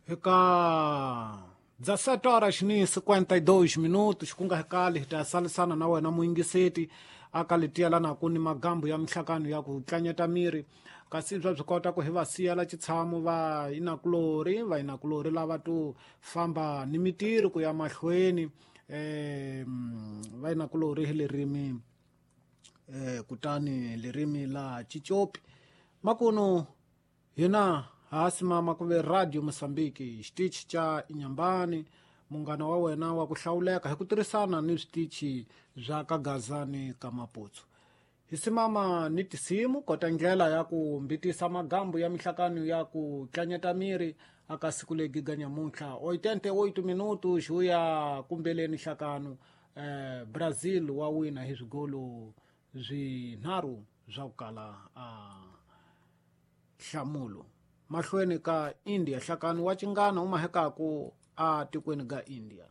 Eka 17 horas ni 52 minutos, ku nga kali hi ta salisana na wena muyingiseti aka letiyelana ku ni magambu ya mihlakano ya ku tlanyeta miri, kasi bya byi kota ku hi va siyela xitshamo va inakulori va inakulori lava to famba ni mitirho ku ya mahlweni, va inakulori hi lerimi, kutani lerimi la Chichopi makuno hina hasimama ku ve Radio Mosambiki, xitichi xa Inyambani, munghana wa wena wa ku hlawuleka hi ku tirhisana ni switichi swa ka Gazani ka Maputsu. Hi simama ni tisimu kota ndlela ya ku mbitisa magambu ya mihlakano ya ku tlanyeta miri aka siku legi ga nyamuntlha 88 minuto xuya kumbeleni hlakano. Brazil wa wina hi swigolo swinharhu swa ku kala a nhlamulo mahlweni ka India. Hlakano wa cingana uma hekaku a tikweni ga India.